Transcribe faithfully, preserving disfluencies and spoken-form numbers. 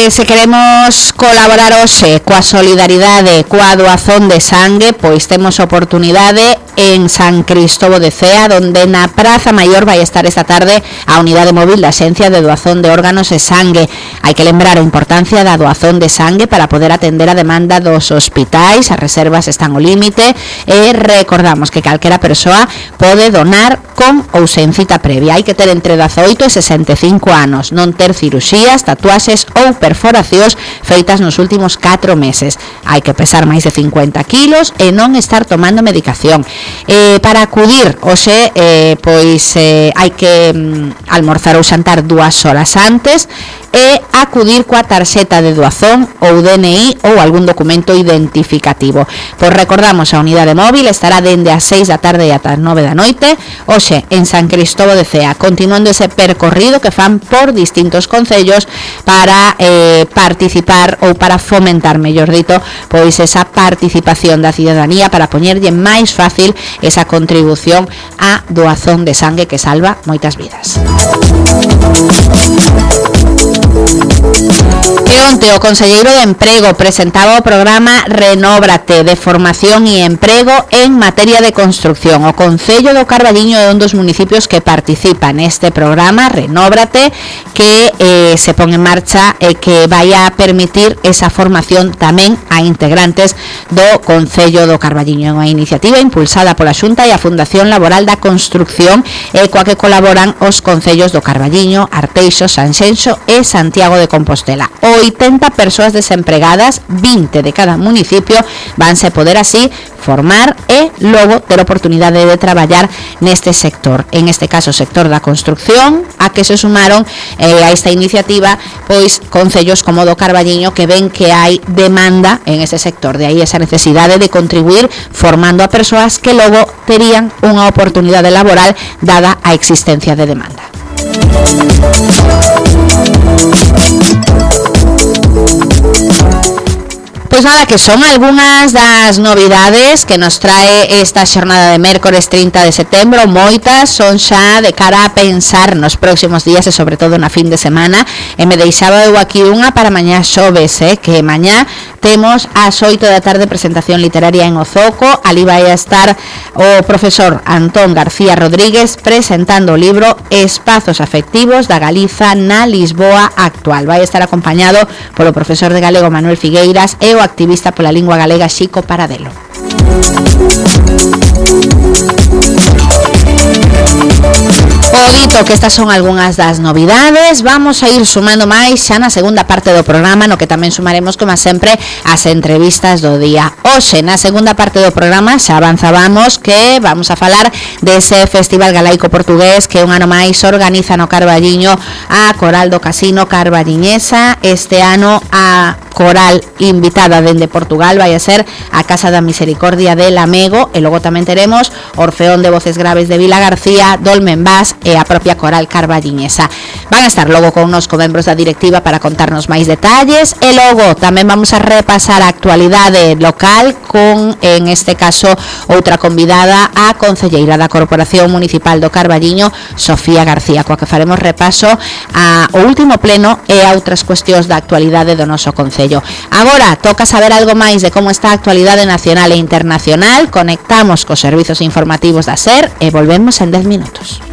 eh, se queremos colaborar hoxe coa solidaridade coa doazón de sangue, pois temos oportunidade en San Cristóbal de Cea, donde na Praza Maior vai estar esta tarde a unidade móvil da Axencia de Doazón de Órganos e Sangue. Hai que lembrar a importancia da doazón de sangue para poder atender a demanda dos hospitais. As reservas están ao límite e recordamos que calquera persoa pode donar con ou sen cita previa. Hai que ter entre dezaoito e sesenta e cinco anos, non ter ciruxías, tatuaxes ou perforacións feitas nos últimos catro meses. Hai que pesar máis de cincuenta kilos e non estar tomando medicación. Eh, para acudir hoxe, eh, pois eh, hai que mm, almorzar ou xantar dúas horas antes e acudir coa tarxeta de doazón ou D N I ou algún documento identificativo. Pois recordamos, a unidade móvil estará dende as seis da tarde e ata as nove da noite, hoxe en San Cristóbal de Cea, continuando ese percorrido que fan por distintos concellos para eh, participar ou para fomentar, mellor dito, pois esa participación da cidadanía para poñerlle máis fácil esa contribución á doazón de sangue que salva moitas vidas. E onte o conselleiro de Emprego presentaba o programa Renóbrate de formación e emprego en materia de construcción. O Concello do Carballiño é un dos municipios que participa neste programa Renóbrate, que eh, se pon en marcha e eh, que vai a permitir esa formación tamén a integrantes do Concello do Carballiño. É unha iniciativa impulsada pola Xunta e a Fundación Laboral da Construcción, e coa que colaboran os concellos do Carballiño, Arteixo, Sanxenxo e Santiago de Compostela. oitenta persoas desempregadas, vinte de cada municipio, vanse poder así formar e logo ter oportunidade de traballar neste sector, en este caso sector da construcción, a que se sumaron eh, a esta iniciativa pois concellos como do Carballiño, que ven que hai demanda en ese sector, de aí esa necesidade de contribuir formando a persoas que logo terían unha oportunidade laboral dada a existencia de demanda. Pois nada, que son algunhas das novidades que nos trae esta xornada de mércores trinta de setembro. Moitas son xa de cara a pensar nos próximos días e sobre todo na fin de semana, e me deixaba eu aquí unha para mañá xoves, eh, que mañá temos ás oito da tarde presentación literaria en Ozoco. Ali vai a estar o profesor Antón García Rodríguez presentando o libro Espazos afectivos da Galiza na Lisboa actual. Vai estar acompañado polo profesor de galego Manuel Figueiras e o activista pola lingua galega Xico Paradelo. O dito que estas son algunhas das novidades, vamos a ir sumando máis xa na segunda parte do programa, no que tamén sumaremos, como sempre, as entrevistas do día. Hoxe, na segunda parte do programa, xa avanzábamos que vamos a falar dese Festival Galaico Portugués que un ano máis organiza no Carballiño a Coral do Casino Carballiñesa. Este ano a coral invitada dende Portugal vai a ser a Casa da Misericordia de Lamego, e logo tamén teremos Orfeón de Voces Graves de Vila García, Dolmen Bass e a propia Coral Carballiñesa. Van a estar logo connosco membros da directiva para contarnos máis detalles, e logo tamén vamos a repasar a actualidade local con, en este caso, outra convidada, a concelleira da Corporación Municipal do Carballiño, Sofía García, coa que faremos repaso ao último pleno e a outras cuestións da actualidade do noso concello. Agora toca saber algo máis de como está a actualidade nacional e internacional. Conectamos cos servizos informativos da SER e volvemos en dez minutos.